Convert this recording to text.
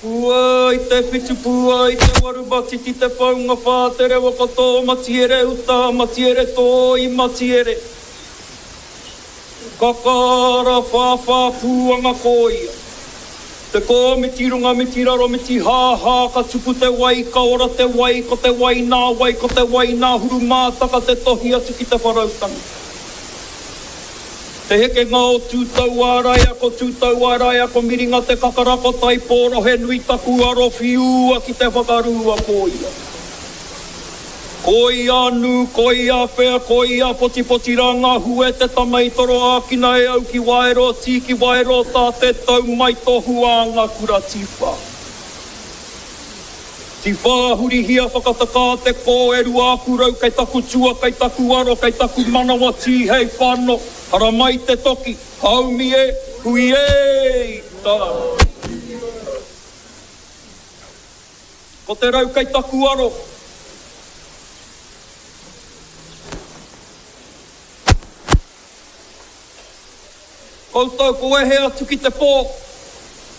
Pua i te whitu pua i te waru matiti te whaunga wha te rewa ko tō matiere uta matiere tō i matiere kakara whāwhā pūanga kōia te kō miti runga miti raro miti hāhā ka tupu te wai ka ora te wai ko te wai nā wai ko te wai nā hurumātaka te tohi atu ki te wharautanga. Te hekenga o Tūtauāraia Ko Tūtauāraia Ko Miringa te kakara Ko Taipōrohe nui taku aro Whiua ki te whakarua Ko ia Ko ia nū Ko ia whea Ko ia potipoti rā ngā hue Te tama i toro ākina e au Ki Waero tī Ki Waero tā Te tau mai tō huānga kura Tīwhā Tiwhā hurihia whakatakā te kō e ruaaku rau kei taku tua kei taku aro kei taku manawa tīhei whano haramai te toki haumi e hui e i tā Ko te rau kei taku aro. Koutou ko wehe atu ki te pō.